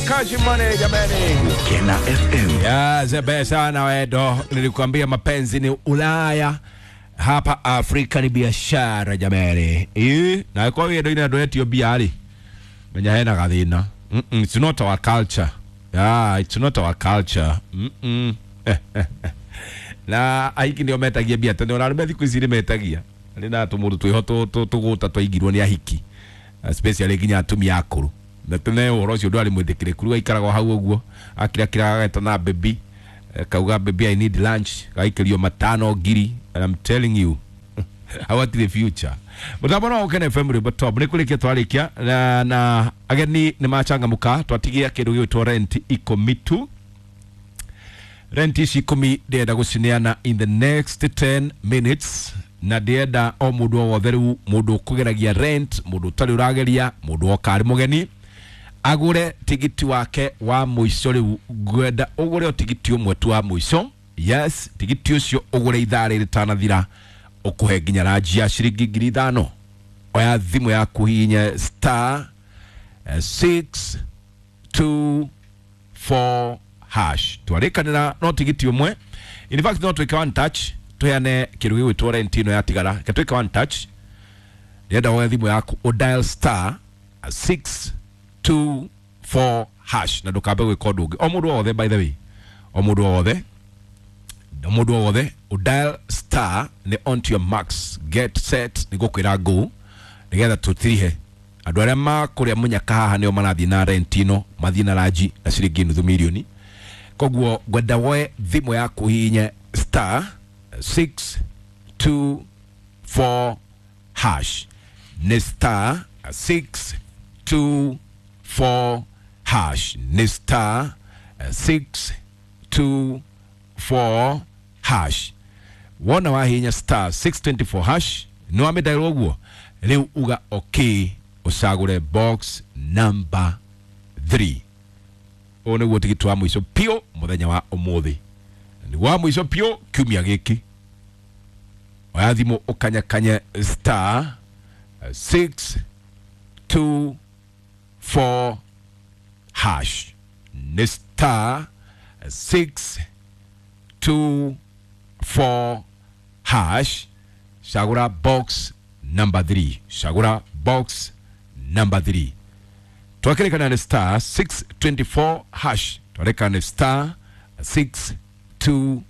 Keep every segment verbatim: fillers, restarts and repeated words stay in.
Cash Money jamani. Kena F M. Ya zebe sana wedo, nilikwambia mapenzi ni Ulaya, hapa Afrika ni biashara jamani. Eh, na kwa hiyo ndio ina yetu biari. Menya hena gathina. Mm -mm, it's not our culture. Yeah, it's not our culture. Mm -mm. Na aiki ndio metagia bia tondũ ona arũme thikũ ici nĩ metagia. Nĩ na tũmũndũ twĩho tũgũta twaigirwo nĩ ahiki. Especially nginya atumia akũrũ. Na tene ũhoro ũcio ndwarĩ mwĩtĩkĩrĩku, rĩu aikaraga hau ũguo akirakira agetana na baby, kauga baby I need lunch, gaikĩrio matano ngiri, and I'm telling you how at the future. Mũtambo no ũkene F M rwĩmbo top nĩ kũrĩkia twarĩkia na, na ageni nĩ machangamũka twatigia kĩndũ gĩgwĩtwo rent ikũmi tu. Rent ici ikũmi ndĩrenda gũcineana in the next ten minutes, na ndĩrenda o mũndũ o wothe rĩu, mũndũ ũkũgeragia rent, mũndũ ũtarĩ ũrageria, mũndũ woka arĩ mũgeni, agũre tigiti wake wa mũico. Rĩu ngwenda ũgũre o tigiti ũmwe tu wa mũico. Yes, tigiti ũcio ũgũre ithaa rĩrĩ rĩtanathira, ũkũhe nginya ranji ya ciringi ngiri ithano. Oya thimũ yaku hihinye star six two four hash. Twarĩkanĩra no tigiti ũmwe. In fact no twĩke one touch, tũheane kĩndũ gĩgwĩtwo rent ĩno yatigara. Reke twĩke one touch. Ndĩrenda woe thimũ yaku ũ dial star six two four hash na ndũkambe gwĩka ũndũ ũngĩ. O mũndũ o wothe, by the way, o mũndũ o wothe, o mũndũ o wothe ũ dial star nĩ on to your max, get set, nĩ ngũkwĩra go nĩgetha tũtirihe andũ arĩa makũrĩa mũnyaka haha nĩo marathiĩ na rent ĩno, mathiĩ na ranji na ciringi nuthu mirioni. Koguo ngwenda woe thimũ yaku hihinye star six two four hash, nĩ star six two four hash, nĩ star six two four hash. Wona wahinya star six twenty-four hash nĩ wamĩndairwo ũguo, rĩu uga okay, ũcagũre box number three. Ũyũ nĩguo tigiti wa mũico piũ mũthenya wa ũmũthĩ, nĩ wa mũico piũ kiumia gĩkĩ. Oya thimũ ũkanyakanye star six two four hash, nĩ star six two four hash. Cagũra box number three, cagũra box number three. Twakĩrĩkana nĩ star six twenty-four hash, twarĩkana nĩ star six two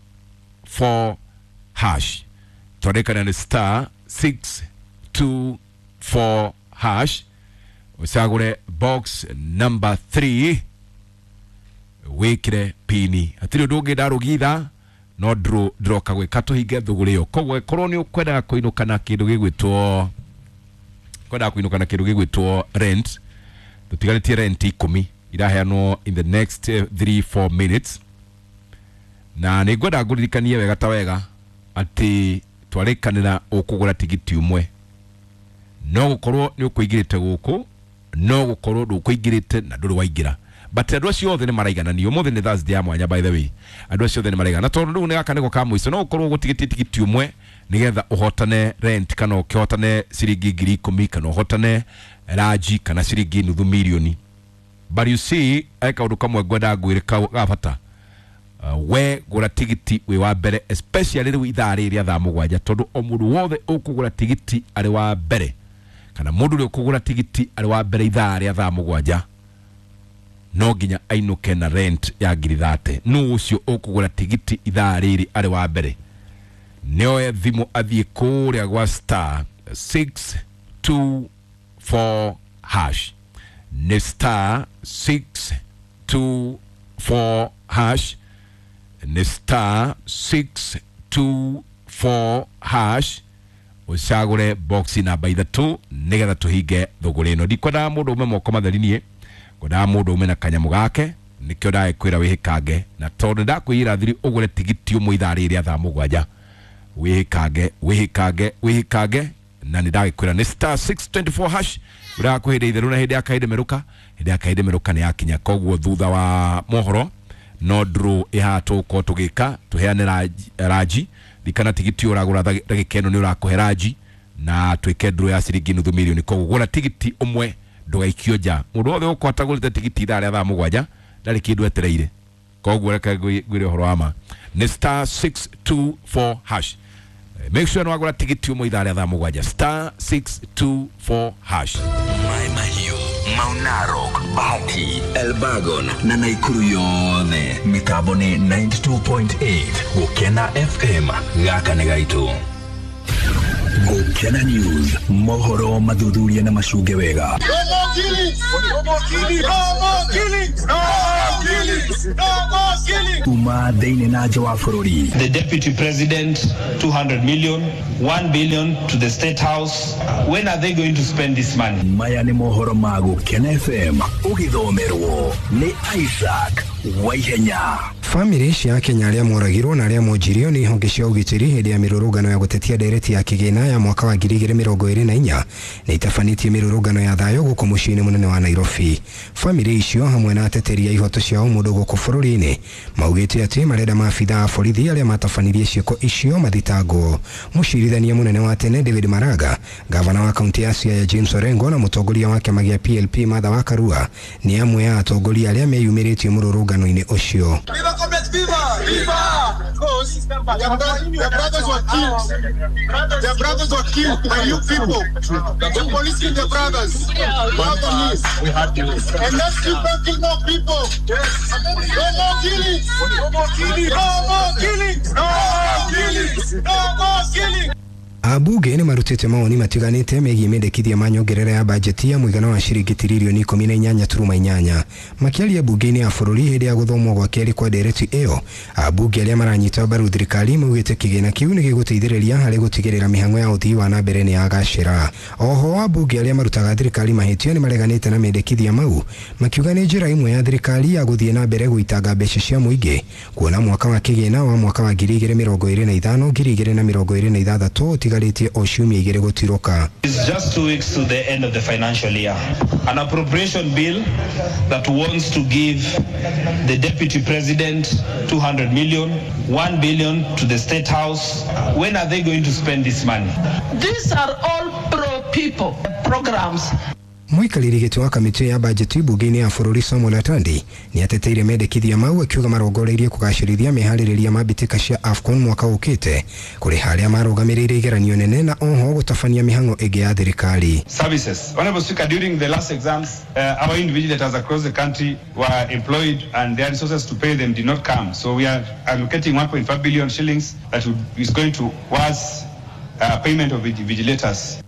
four hash, twarĩkana nĩ star six two four hash. Ũcagũre box number three, wĩkĩre pini. Hatirĩ ũndũ ũngĩ ndarũgitha no ndro ndroka gwĩka tũhinge thũgũrĩ ĩyo. Koguo korwo nĩ ũkwendaga kũinũka na kĩndũ gĩgwĩtwo, kwendaga kũinũka na kĩndũ gĩgwĩtwo rent, tũtigarĩtie rent ikũmi iraheanwo in the next three four minutes. Na nĩ ngwenda ngũririkanie wega ta wega atĩ twarĩkanĩra ũkũgũra tigiti ũmwe, no gũkorwo nĩ ũkũingĩrĩte gũkũ, no gũkorwo ndũkũingĩrĩte na ndũrĩ waingĩra, but andũ acio othe nĩ maraigananio. Ũmũthĩ nĩ Thursday ya mwanya, by the way, andũ acio othe nĩ maraigana tondũ rĩu nĩ gaka nĩko ka mũico. No ũkorwo ũgũtigĩtie tigiti ũmwe nĩgetha ũhotane rent, kana ũkĩhotane ciringi ngiri ikũmi, kana ũhotane ranji, kana ciringi nuthu mirioni. But you see, he kaũndũ kamwe ngwenda ngwĩre ga bata. Uh, we gũra tigiti wĩ wa mbere, especially rĩu ithaa rĩrĩ rĩa thaa mũgwanja, tondũ o mũndũ wothe ũkũgũra tigiti arĩ wa mbere, kana mũndũ ũrĩa ũkũgũra tigiti arĩ wa mbere ithaa rĩa thaa mũgwanja, no nginya ainũke na rent ya ngiri thate. Nũ ũcio ũkũgũra tigiti ithaa rĩrĩ arĩ wa mbere nĩoe thimũ athiĩ kũrĩa gwa star six two four hash, nĩ star six two four hash, nĩ star six two four hash. Ũcagũre box namba ithatũ nĩgetha tũhinge thũgũrĩ ĩno. Ndikwendaga mũndũ ume moko matheri niĩ, ngwendaga mũndũ ume na kanyamũ gake, nĩkĩo ndagĩkwĩra wĩhĩkange. Na tondũ ndakwĩra thiri ũgũre tigiti ũmwe ithaa rĩrĩ rĩa thaa mũgwanja, wĩhĩkange, wĩhĩkange, wĩhĩkange. Na nĩ ndagĩkwĩra nĩ star six twenty-four hash. Ũrakwĩ hĩndĩ itherũ na hĩndĩ ya kahĩndĩ merũka, hĩndĩ ya kahĩndĩ merũka nĩ yakinya. Koguo thutha wa mohoro no draw ĩhaha tũgũkorwo tũgĩka, tũheane ranji. Ririkana tigiti ũragũra ndagĩka ĩno nĩ ũrakũhe ranji, na twĩke draw ya ciringi nuthu mirioni. Koguo gũra tigiti ũmwe Ndũgaikio nja. Mũndũ wothe ũgũkorwo atagũrĩte tigiti ithaa rĩa thaa mũgwanja ndarĩ kĩndũ etereire. Koguo reke ngwĩre ũhoro wa ma nĩ star six two four hash. Make sure nĩwagũra tigiti ũmwe ithaa rĩa thaa mũgwanja, star six two four hash. Mai Mahiũ, Mount Narok, Bahati, Elbagon na Naikuru yothe mitambo nĩ ninety two point eight Gũkena F M gaka nĩ gaitũ. Gũkena News, mohoro mathuthuria na macunge wega. No more killings! No more killings! No more killings! No more killings! No more killings! Kuma thĩinĩ na nja wa bũrũri. The deputy president two hundred million, one billion to the state house. When are they going to spend this money? Maya nĩ mohoro ma Gũkena F M ũgĩthomerwo nĩ Isaac Waihenya. Famĩlĩ cia Kenya arĩa moragirwo na arĩa monjirio nĩ honge cia ũgitĩri hĩndĩ ya mĩrũrũngano ya gũtetia ndereti ya kĩgĩna ya mwaka wa ngiri igĩrĩ mĩrongo ĩrĩ na inya nĩ itabanĩtie mĩrũrũngano ya thayũ gũkũ mũciĩ-inĩ mũnene wa Nairobi. Famĩlĩ icio hamwe na ateteri a ihoto cia ũmũndũ gũkũ bũrũri-inĩ maugĩte atĩ marenda maabitha a borithi arĩa matabanirie ciĩko icio mathitangwo. Mũcirithania mũnene wa tene David Maraga, gavana wa kaunti ya Siaya James Orengo na mũtongoria wa kĩama gĩa P L P Martha Wakarua nĩ amwe a atongoria arĩa meyumĩrĩtie mũrũrũngano-inĩ ũcio. Viva Comrades, viva! Viva! Because their, their brothers were killed. Their brothers were killed by you people. The police killed their brothers. And let's keep on killing more people. No more killings! No more killings! No more killings! No more killings! No more killings! Abunge nĩ marutĩte mawoni matiganĩte megiĩ mendekithia ma nyongerera ya bajeti ya mũigana wa ciringi tiririoni ikũmi na inyanya turuma inyanya. Makĩaria bunge-inĩ ya bũrũri hĩndĩ ya gũthomwo gwa kerĩ kwa ndereti ĩyo, abunge arĩa maranyita mbaru thirikari maugĩte kĩgĩna kĩu nĩ gĩgũteithĩrĩria harĩ gũtigĩrĩra mĩhang'o ya ũthii wa na mbere nĩ yagacĩra. Oho abunge arĩa marutaga thirikari mahĩtia nĩ mareganĩte na mendekithia mau, makiuga nĩ njĩra ĩmwe ya thirikari ya gũthiĩ na mbere gũitanga mbeca cia mũingĩ, kuona mwaka wa kĩgĩna wa mwaka wa ngiri igĩrĩ mĩrongo ĩrĩ na ithano ngiri igĩrĩ na mĩrongo ĩrĩ na ithathatũ ũtigarĩtie o ciumia igĩrĩ gũtirũka. It's just two weeks to the end of the financial year. An appropriation bill that wants to give the deputy president two hundred million, one billion to the state house. When are they going to spend this money? These are all pro-people programs. Mũikarĩri gĩtĩ wa kamĩtĩ ya bajeti bunge-inĩ ya bũrũri Samuel Atandi nĩ ateteire mendekithia mau akiuga marongoreirie kũgacĩrithia meharĩrĩria ma mbĩtĩka cia AFCON mwaka ũkĩte kũrĩ harĩa marũgamĩrĩire igeranio nene na oho gũtabania mĩhang'o ĩngĩ ya thirikari. Services. Honorable Speaker, during the last exams, uh, our invigilators across the country were employed and their resources to pay them did not come. So we are allocating one point five billion shillings that is going towards uh, payment of invigilators.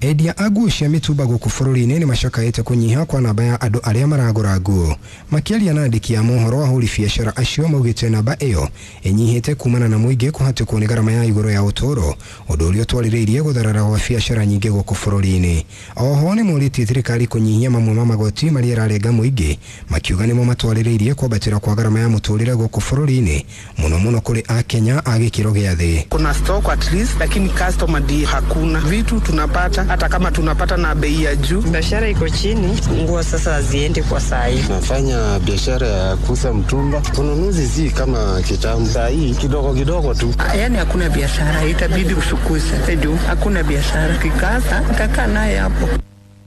Endia a nguo cia mĩtumba gũkũ bũrũri-inĩ nĩ macakaĩte kũnyiha kwa namba ya andũ arĩa maragũra nguo. Makĩaria na andĩki a mohoro ahũri biacara acio maugĩte namba ĩyo ĩnyihĩte kumana na mũingĩ kũhatĩkwo nĩ garama ya igũrũ ya ũtũũro, ũndũ ũrĩa ũtwarĩrĩirie gũtharara gwa biacara nyingĩ gũkũ bũrũri-inĩ. Oho nĩ morĩtie thirikari kũnyihia mamwe ma magoti marĩa ĩrarenga mũingĩ, makiuga nĩmo matwarĩrĩirie kwambatĩra kwa garama ya mũtũũrĩre gũkũ bũrũri-inĩ, mũno mũno kũrĩ Akenya a gĩkĩro gĩa thĩ. Kuna stock at least, lakini customer di hakuna. Vitu tunapata hata kama tunapata na bei ya juu. Biashara iko chini, nguo sasa haziendi kwa saa hii. Nafanya biashara ya kuuza mtumba, ununuzi si kama kitambo, saa hii kidogo kidogo tu. Yaani hakuna biashara, itabidi usukuze juu hakuna biashara. Kikaza utakaa naye hapo.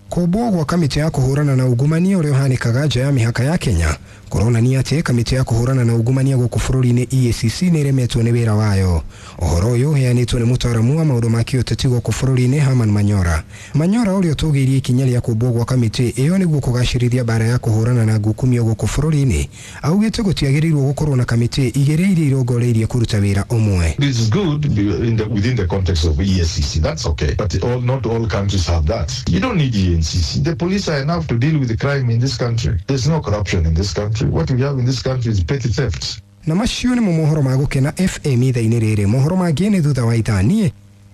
Kũmbwo gwa kamĩtĩ ya kũhũrana na ungumania ũrĩa ũhanĩkaga nja ya mĩhaka ya Kenya kũronania atĩ kamĩtĩ ya kũhũrana na ungumania gũkũ bũrũri-inĩ E A C C nĩ ĩremetwo nĩ wĩra wayo. Ũhoro ũyũ ũheanĩtwo nĩ mũtaaramu wa maũndũ ma kĩũteti gũkũ bũrũri-inĩ Herman Manyora. Manyora ũrĩa ũtũgĩirie ikinya rĩa kũmbwo gwa kamĩtĩ ĩyo nĩguo kũgacĩrithia mbara ya kũhũrana na ngukumio gũkũ bũrũri-inĩ, augĩte gũtiagĩrĩirwo gũkorwo na kamĩtĩ igĩrĩ iria irongoreirie kũruta wĩra ũmwe. This is good in the, within the context of E A C C, that's okay. But all, not all countries have that. You don't need E A C C. The police are enough to deal with the crime in this country. There's no corruption in this country. What we have in this country is petty theft. Na macio nĩmo mohoro ma Gũkena F M ithaa-inĩ rĩrĩ. Mohoro mangĩ nĩ thutha wa ithaa. Niĩ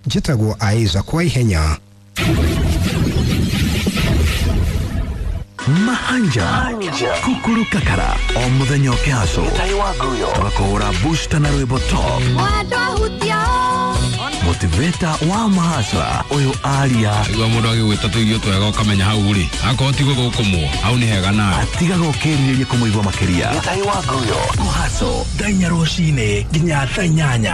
njĩtagwo Isaac Waihenya. Mahanja Kukuru Kakara o muthenya ũkĩhaco tũgakũhũra booster na rwĩmbo top motivator wa mahasra ũyũ aria igua mũndũ agĩgwĩta tũirio twega ũkamenya hau rĩ akorwo ti gũgũkũmwo hau nĩ hega nawe atigaga ũkĩrirĩria kũmũigua makĩria. Kũhaco thaa inya rũcinĩ nginya thaa inyanya.